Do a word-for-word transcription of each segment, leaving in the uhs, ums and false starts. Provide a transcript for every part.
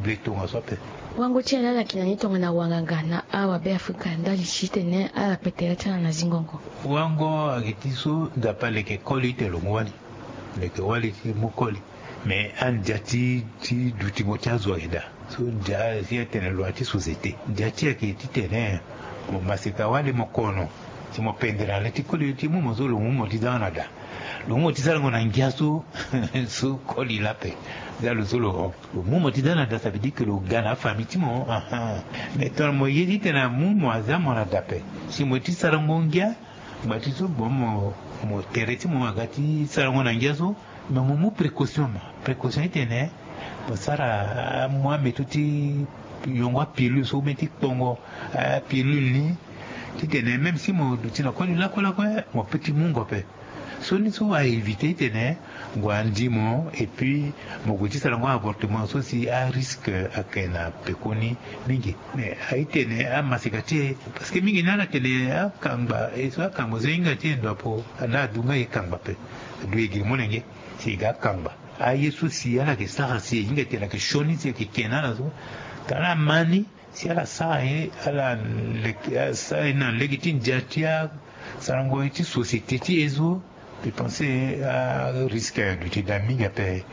Le tongaso ape. Wango ti ala ala yeke na ni tongana wanganga na awa Beafrika ndali ti tene ala kpe tere ti ala na zingo. Wango ayeke ti so Nzapa aleke koli ti tene lo mu wali. Leke wali ti mu koli. Me andia ti ti dutingo ti azo ayeke daa. So ndia si atene lo ya ti société ndia ti ayeke ti tene mo maseka wali mo kono. Si mo pendere na le ti koli ti mu mo so lo mu mo ti za na daa. Lo mu mo ti sarango na ngia so. So koli laa ape. Za lo so lo hon. Lo mu mo ti za na daa ça veut dire ke lo ga na afamille ti mo. Mais tongana mo ye ti tene amu mo aza mo na daa ape. Si mo ye ti sarango ngia. Ngba ti so bon mo tere ti mo aga ti sarango na ngia so. Mais mo mu précaution ma précaution ti tene mo sara amu ameto ti yongo apilule so ou bien ti kpongo apilule ni. Ti tene même si mo duti na koli lakue lakue mo pe ti mungo ape. So ni so a éviter ti tene ngu andi mo et puis mo gue ti sarango avortement so si arisque ayeke na pekoni. Mingi mais aye ti tene amaseka ti e. Parce que mingi ni ala tene akangba e so akangba so e hinga ti e ndo apo. Ana adu nga e kangba ape. Adu e giri molenge si e ga akangba. Aye so si ala yeke sara si e hinga ti tene ayeke sioni si ayeke ke na ala so. Tara ala ma ni si ala sara ye ala leke asara ye na lege ti ndia ti asarango ye ti société ti e so. Mbi pense arisque aduti daa mingi ape.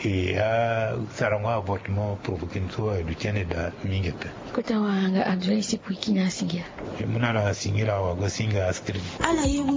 E asarango avortement provoqué ni so aduti ande daa mingi ape. Kota wanganga abdoulaye si pui kini asingila. E mu na ala asingila wago asinga askri. Ala ye.